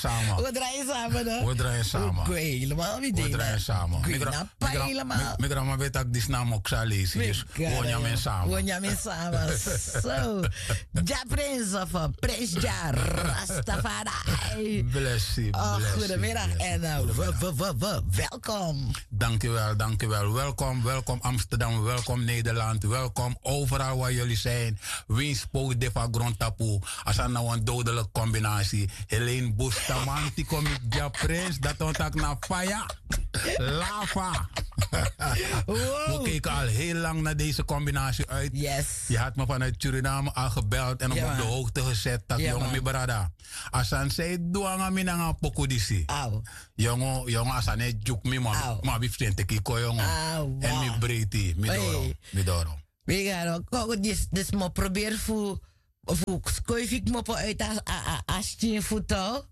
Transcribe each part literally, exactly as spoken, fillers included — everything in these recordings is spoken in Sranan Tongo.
Sama. We drai sama no. We drai sama. We gwe helemaal mi dei na. We drai sama. Mi gra- mi gra- mi- mi grama ben taki disi na moksa leisi. Dus we o nyan men sama. We o nyan men sama. So, Jah Prince of uh, Prince Jah Rastafari. Blessi. Oh, blessi, goedemiddag blessi, en uh, goedemiddag. We, we, we, we, welkom. Dankjewel, dankjewel. Welkom, welkom Amsterdam, welkom Nederland, welkom overal waar jullie zijn. Winsi pogi de fu a grontapu. A sani na wan dodelijke combinatie. Helene Bustamante kon miti Jah Prince. Dati wani taki na faya. Lava. We keken al heel lang naar deze combinatie uit. Yes. Je had me vanuit Suriname al gebeld en op de hoogte gezet dat jongen mi brada. A sani san yu du nanga mi nanga a poku disi. Jongen, jongen, a sani e dyuku mi, ma mi abi fu seni teki kon, jongen. En mi breiti, mi doro, mi doro. Wegaro, koko disi, disi mi o proberi fu, fu skuifi kmopo uit a, a, a, a skin fu tou.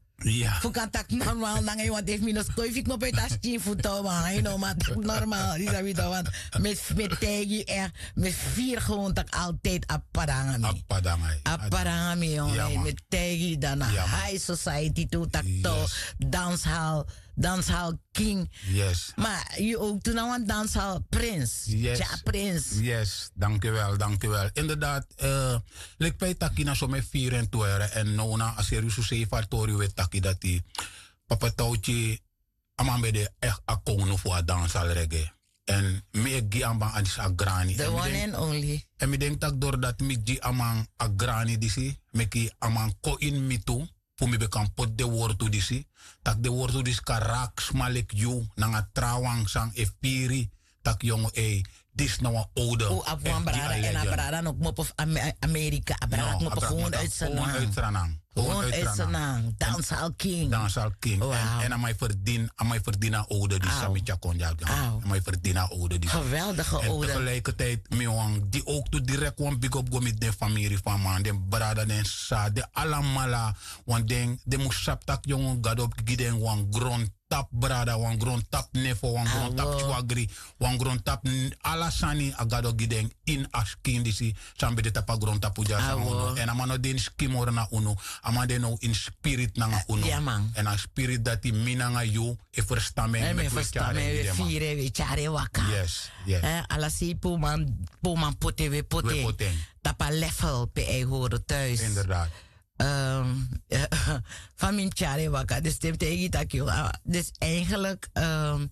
Fu kan taki normaal nanga yu, want efu mi no skuifi kmopo uit a skin fu tou, man, yu no man taki normaal, yu sabi tou, want mi, mi taigi yu echt, mi firi gewoon taki altijd a papa nanga mi. A papa nanga yu. A papa nanga mi, jongen, mi taigi yu dan na high society tu taki tou, danshal, danshal king. Yes. Maar yu ook tu na wan danshal prins. Yes. Jah Prince. Yes, dankjewel, dankjewel. Inderdaad, uh, leki fa yu taki na so mi e firi en tu ere. En now na a seriusu sei fu a tori we taki dati. Papa Tauti, a man ben de echt a kownu fu a danshal reggae. En mi e gi a man a disi a grani. The one and only. En mi denki taki dorodati mi gi a man a grani disi, meki a man kon ini mi tu. Fu mi ben kan poti den wortu disi. Taki den wortu disi kan raki sma leki yu nanga trawan san e firi. Taki yongu ei, disi na wan owde. Un abi wan brada en a brada no kmopo fu Ame- Amerika. A brada kmopo gewoon uit Sranan. Gewoon uit Sranan. Danshal king. Danshal king. En a man e ferdini, a man e ferdini a owde disi san mi tyari kon dya. A man e ferdini a owde disi. Geweldige owde. En tegelijkertijd mi wani gi ook tu direct wan big up go miti den famiri fu a man, den brada, den sisa, den alamala. Want den, den mus sabi taki yongu Gado gi den wan grontapu brada, wan grontapu nefo, wan grontapu swagri, wan grontapu n- ala sani a Gado gi den ini a skin disi san ben de tapu a grontapu dya san unu. En a man no de ini skin moro nanga unu, a man de now ini spirit nanga unu. En a spirit dati mi nanga yu e ferstan en, en meki wi e tyari en gi den man. Firi en, wi e tyari en waka. Yes, yes. Eh, ala sei pe un man, pe un man poti en, wi e poti en. Tapu a level pe a e hori thuis. Inderdaad. Ehm, fa mi mus tyari en waka, dus te mi taigi yu taki, ah, dus eigenlijk, ehm,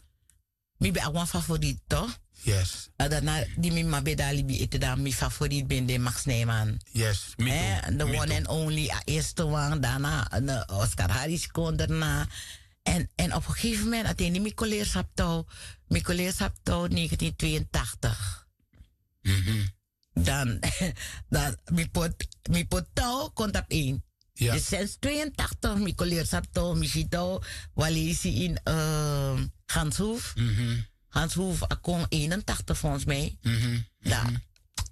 mi ben abi wan favoriet toch? Yes. A dati na di mi mama ben de na libi ete, dan mi favoriet ben de Max Nijman. Yes, mi tu. Eh, the one and only, a eerste wan, daarna, eh, Oscar Harris kon daarna. En, en op een gegeven moment, a ten di mi kon leri sabi tou, mi kon leri sabi tou negentien tweeëntachtig. Dan, dan mi poti, mi poti tou kon tapu een. Dus sinds tweeëntachtig mi kon leri sabi tou, mi si tou, wan leisi in, ehm, Ganshoef. Ganshoef a kon eenentachtig volgens mij. Dan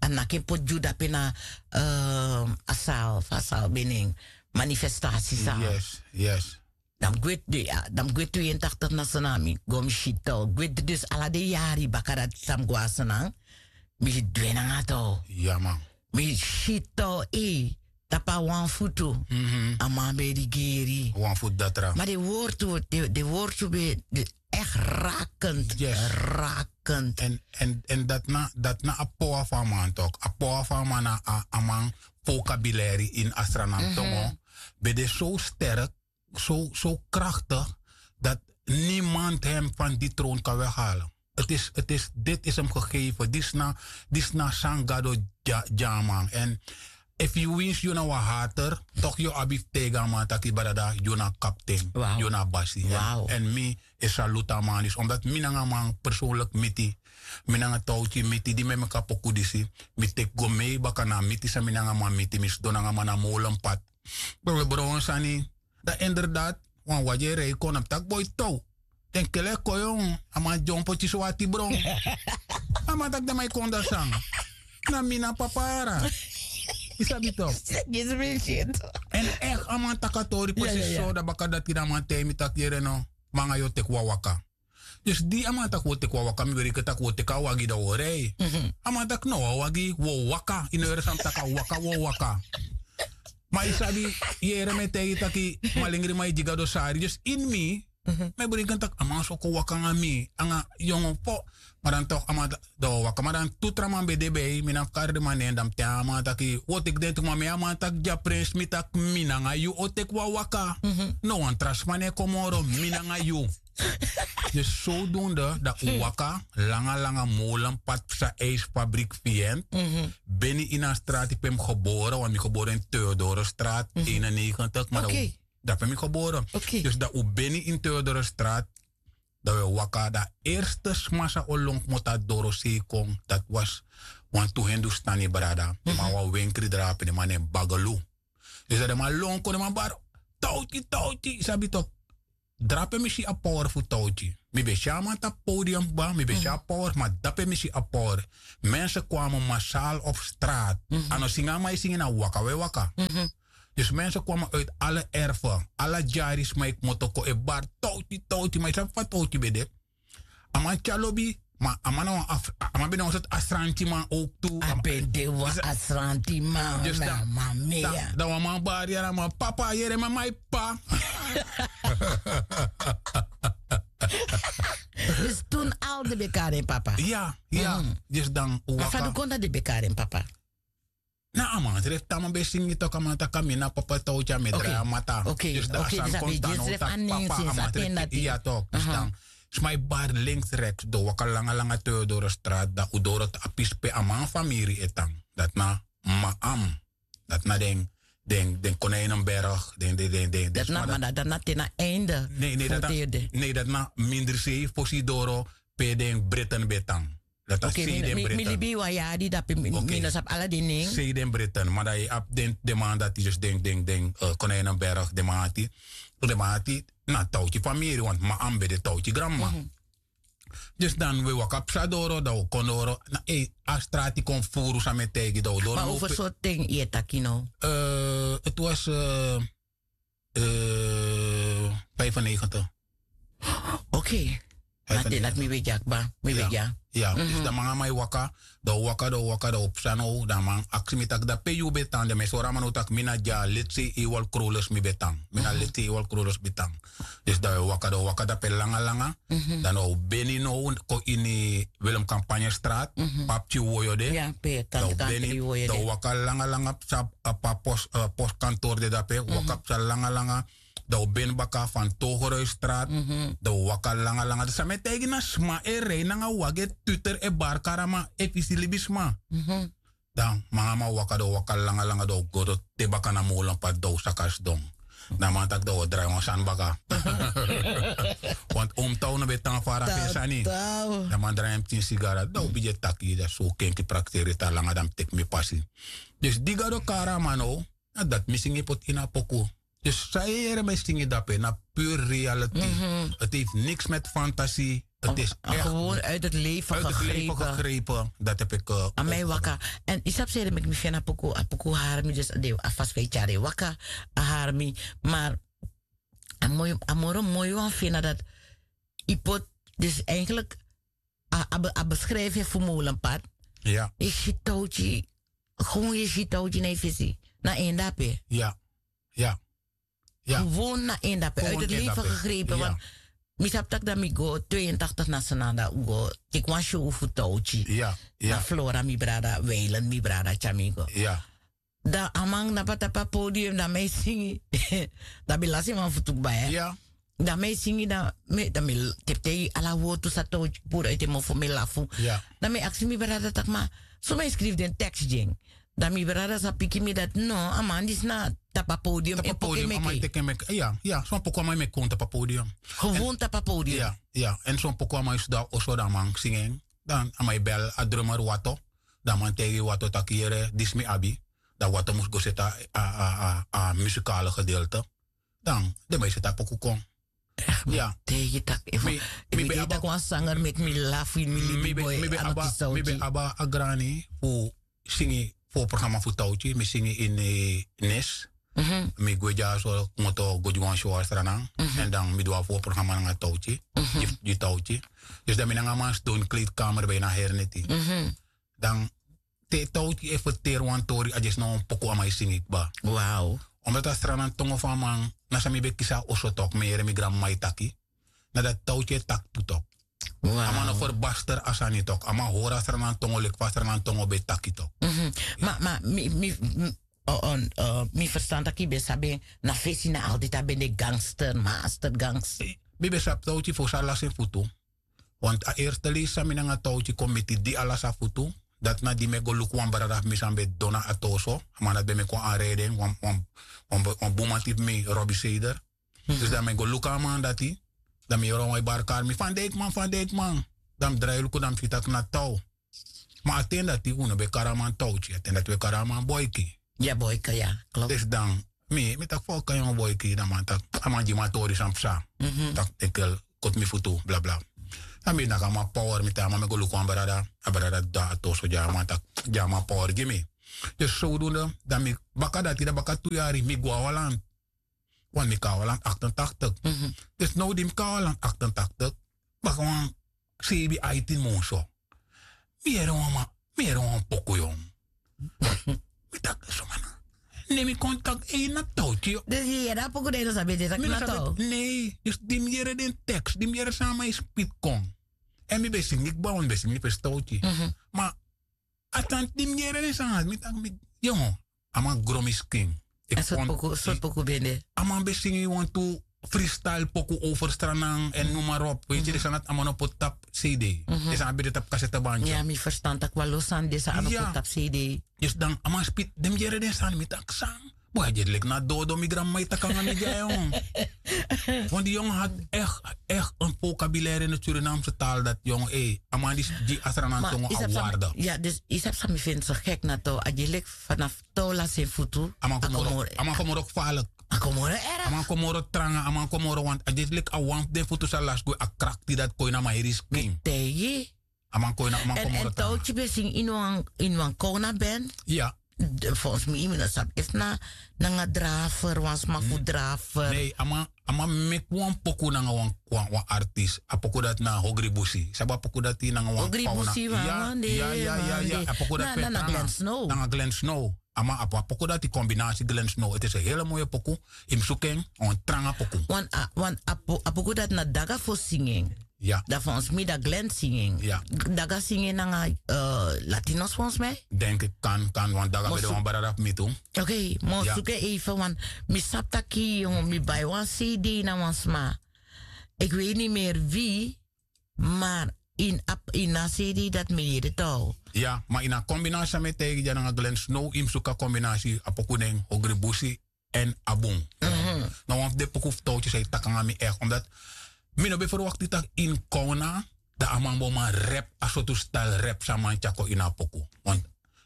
a naki en poti gi un dape na, ehm, a sal, fa a sal ben nen, manifestatie sal. Yes, yes. Dan mi gwe, ya, dan mi gwe tweeëntachtig na Sranan, mi go mi si tou. Gwe dus ala den yari baka dati san mi go na Sranan, mi du en nanga tou. Ya man. Mi si tou, eh, tapu a wan futu. A man ben e rigeri. Wan futu datra. Ma den wortu, den, den wortu ben, den echt rakend. Yes. Rakend. En, en, en dati na, dati na a power fu a man toch. A power fu a man na a, a man vocabulaire in a Sranan tongo ben de zo sterk, zo, zo krachtig, dat niemand hem van die troon kan weghalen. Het is, het is, dit is hem gegeven. Disi na, disi na san Gado gi a, gi a man. En efu yu winsi yu na wan hater, toch yu abi fu taigi a man taki brada, yu na kapten, yu na basi. En, en mi e saluti a man disi, omdat mi nanga a man persoonlijk miti. Mi nanga Tauti miti, di mi e meki a poku disi. Mi teki go mee baka na a miti san mi nanga a man miti, mi sidon nanga a man na molenpad. We, we bron sani. Dan inderdaad, wan wagi e rei kon, a mus taki boi tou. Den kele kon, yongu, a man dyompo tisi wati bron. A man taki den man e kon dati san. Na mi na papara. Yu sabi tok. En echt, a man taki a tori precies so, dan baka dati dan a man taigi mi taki yere no, mi nanga yu o teki wan waka. Dus di a man taki wi o teki wan waka, mi weri enke taki wi o teki a wagi dan wi o rei. A man taki no, wan wagi, wi o waka. Yu no yere san mi taki, a waka, wi o waka. Ma yu sabi, yere mi e taigi taki malingri man e gi gado sari. Dus ini mi, mi e breken taki a man so kon waka nanga mi, nanga yongo po. Ma dan tok a man, dan waka, ma dan tu tra man ben de bij mi, na fu kari den man nen, dan mi ten a man taki, o teki den tu, ma mi a man taki, dya prins, mi taki mi nanga yu o teki wan waka. No wan tra sma no e kon moro, mi nanga yu. Dus zodoende dan un waka langa langa molenpad psa ijsfabriek fi en. Beni ini a strati pe mi gebore, want mi gebore in Theodorestraat eenennegentig, maar dan, dape mi gebore. Dus dan un beni in Theodorestraat, dan we waka, dan eerste sma san o lon kmoto a dorosei kon, dat was wantu Hindustani brada. Den man wan wenkri drape, den man nen Bagalu. Dus dan den man lon kon, den man bari, Tauti, Tauti, yu sabi tok. Drape mi si a power fu Tauti. Mi ben si a man tapu podium kba, mi ben si a power, ma dape mi si a power. Mensen kwamen massaal op straat. A no singi a man e singi, na waka we waka. Dus mensen kwamen uit alle erven, ala dyari sma e kmoto kon e bari Tauti, Tauti, ma yu sabi fa Tauti ben de. A man tyari lobi, ma a man na wan af, a man ben na wan sortu asrantiman ook tu. A ben de wan asrantiman. Dus dan, dan wan man bari en a man, papa, yere, mama, papa. Dus toen al den ben kari en papa? Ya, ya. Dus dan, ma fa du kon dati den ben kari en papa? Na a man srefi, te a man ben singi tok, a man taki mi na papa Tauti, a mi e drai a mata. Dus dan a sani kon tan now taki papa, a man srefi, ya tok. Dus dan sma e bari links, rechts, dan un waka langa langa Theodorestraat, dan un doro a pisi pe a man famiri e tan. Dati na Maam. Dati na den, den, den Konijnenberg, den, den, den, den, den sma dati. Ma dati na te na einde. Nee, nee, dati na, nee, dati na mindri sei fosi doro pe den Britten ben tan. Dati a sei den Britten. Mi libi wan yari dape, mi no sabi ala den nen. Sei den Britten, ma dan yu abi den, den man dati, dus den, den, den, eh, Konijnenberg, den man dati. Den man dati na Tauti famiri, want Maam ben de Tauti granma. Dus dan we waka psa doro, dan we kon doro. Na, eh, a strati kon furu san mi e taigi, dan we doro. Ma over sortu ten yu e taki now? Eh, het was, eh, eh, vijfennegentig. Oké. Na te dati mi ben dya kba, mi ben dya. Ya, dus dan man nanga mi e waka, dan un waka, dan un waka, dan un psa now, dan a man aksi mi taki, dan pe yu ben tan, dan mi e sori a man now taki mi na dya Letsey Ewald Krolus mi ben tan. Mi na Letsey Ewald Krolus ben tan. Dus dan un waka, dan un waka dape langa langa. Dan un beni now kon ini Willem Campagnestraat, pe a pikin woyo de. Dan un beni, dan un waka langa langa psa, a pe a pos, eh, postkantoor de dape, waka psa langa langa. Dan un beni baka van Togeruisstraat. Dan un waka langa langa. Dus san mi e taigi, na sma e rei nanga wagi e tuter e bari kari a man, efu yu si libisma. Dan man nanga mi waka, dan un waka langa langa, dan un go te baka na molenpad, dan un saka sidon. Dan a man taki dan un o drai wan sani baka. Want Oom Tau no ben tan fara fu en sani. Dan a man drai en pikin sigara, dan un bigin e taki, dan so kenki prakseri te langa, dan mi teki mi pasi. Dus di Gado kari a man now, na dati mi singi poti ini a poku. Dus san yu e yere mi e singi dape na pure reality. Het heeft niks met fantasie. Het is echt gewoon uit het leven gegrepen. Dat heb ik, eh, aan mij waka. En yu sabi san ede meki mi feni a poku, a poku hari mi, dus a fasi fa yu tyari en waka, a hari mi. Maar a moi, a moro moi wan feni na dati yu poti, dus eigenlijk a, a be-, a beschrijf yu fu molenpad. Yu si Tauti, gewoon yu si Tauti na yu fesi. Na en dape. Ya, ya. Gewoon na en dape. Uit het leven gegrepen. Want mi sabi taki dan mi go tweeëntachtig na Sranan, dan un go teki wan show fu Tauti. Na Flora, mi brada, Weilen, mi brada, tyari mi go. Dan a man na papa tapu a podium, dan mi e singi. Dan mi lasi en wan futu kba. Dan mi e singi, dan mi, dan mi l-, te, te ala wortu sa Tauti puru uit en mofo, mi e lafu. Dan mi e aksi mi brada taki, ma so mi e skrifi den tekst gi en. Dan mi brada sa piki mi dati no, a man disi na tapu a podium, tapu a podium, a man e teki en meki. Ya, ya, so wan poku a man e meki kon tapu a podium. Gewoon tapu a podium. Ya, ya, en so wan poku a man e sidon a oso, dan a man singi en. Dan a man e bel a drummer Wato. Dan a man taigi Wato taki, yere, disi mi abi. Dan Wato mus go seti a, a, a, a muzikale gedeelte. Dan den man e seti a poku kon. Ya. Taigi taki, efu mi, mi ben abi, taki wan sanger meki mi lafu ini mi libi, mi ben, boy, mi ben abi, mi ben abi a grani fu singi voorprogramma fu Tauti, mi singi ini, eh, Nes. Mi gwe dyaso, kmoto go gi wan show na Sranan. En dan mi du a voorprogramma nanga Tauti. Gi, gi Tauti. Dus dan mi nanga a man sidon ini kleedkamer bijna heri neti. Dan te tauti e ferteri wan tori a dyesi na wan poku a man e singi kba. Wow. Omdat a sranantongo fu a man na san mi ben kisi a oso tok mi yere mi granmama e taki. Na dati tauti e taki tu tok. A man no ferbasteri a sani tok a man hori a sranantongo leki fa a sranantongo ben taki tok. Ma ma mi mi mi ferstan taki ben sabi na fesi na altiti a ben de gangster master gangster. Mi ben sabi tauti fosi a lasi en futu. Want a erste leisi san mi nanga tauti kon miti di a lasi a futu. Dati na di mi e go luku wan brada fu mi san ben dona a toso a man dati ben meki wan anreden wan bun man tipi mi robi seder. Dus dan mi e go luku a man dati. Dan mi yoro wan e barkari mi fan deikman fan deikman. Dan mi drai luku dan mi si taki na taw. Ma a ten dati un no ben kari a man tauti a ten dati un e kari a man boiki. Ya boika ya. Klopt. Dus dan mi mi taki fa o kan yongo boiki dan man taki a man gi mi a tori san psa. Taki enkel koti mi futu blabla. Dan mi naki a man power mi taki a man mi go luku wan brada. A brada dati a toso gi a man taki gi a man power gi mi. Dus sowdunde dan mi baka dati dan baka tu yari mi go a walan. Wan mi kawalan achtentachtig. Dus no di mi kawalan achtentachtig baka wan sebi aitin monso. Mi yere wan man mi yere wan poku yong. Mi taki soma na ne mi kon taki ei na tauti. Dus yu yere a poku dan yu no sabi ete taki na tau. Nei dus di mi yere den teks di mi yere san a man e spiti kon. Èn mi ben singi kba wan mi ben singi fesi tauti. Ma a tanti di mi yere den sani dati mi taki mi yongo. A man gro mi skin. Sortu poku ben de? A man ben singi wantu freestyle poku over stranan èn noem maar op weet yu den sani dati a man no poti tapu cd. Den sani ben de tapu kasete banki. Ya mi ferstan taki wan lo sani den sani no poti tapu cd. Dus dan a man spiti den mi yere den sani mi taki san. Boi a dyesi leki na dodo mi granmama e taki nanga mi gi a yongo. Want di yongo hadi echt echt en vokabilaire in de surinamse taal dati yongo ei a man di a sranantongo a warde. Ya dus yu sabi san mi findi so gek na to a dyesi leki vanaf to lasi en futu. A man komoro a man komoro gefarlik. A komoro erg a man komoro tranga a man komoro want a dyesi leki a wan fu den futu san lasi gwe a krakti dati kon ini a man heri skin. Tigi. A man kon ini a man komoro tranga. Èn tauti ben singi ini wan kowna ben. Ya. Volgens mi yu mi no sabi efu na nanga drafer wan sma fu drafer. Nei a man a man meki wan poku nanga wan wan artis a poku dati na hogri busi sabi a poku dati nanga wan pawna. Ya ya ya ya a poku dati na na glen snow. Nanga glen snow. A man a poku dati kombinasi glen snow ete se hele moye poku. Yu mus suku en wan tranga poku. Wan a poku dati na daga fosi singi en. Ya. Dan fons mi dan glen singing. Ya. Daga singing nanga latinos fons mi. Denk ik kan kan want daga ben de wan brada fu mi tu. Oké, mo suke even want mi sabi taki mi bai wan cd na wan sma. Ik weet niet meer wie maar in ap in a cd dat mi yere tou. Ya, maar in a combinatie met tijgi dya nanga glen snow im suka combinatie a poku nen hogri busi. En a bun. Na wan fu den poku fu touwtjes a e taki nanga mi echt omdat mi no ben verwakti tak' ini kowna dan a man bo man rep a sortu stal rep san man tyako ini a poku. Want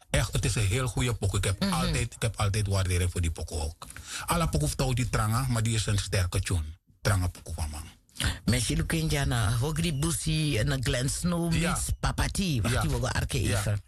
echt ti is en heel goede poku ik heb altijd ik heb altijd wardering fu di poku ok. Ala poku fu touwtyi tranga ma di is en sterke tune. Tranga poku fu a man. Mensi luken dya na hogri busi na glen snow mits papati wakti wogo arke even.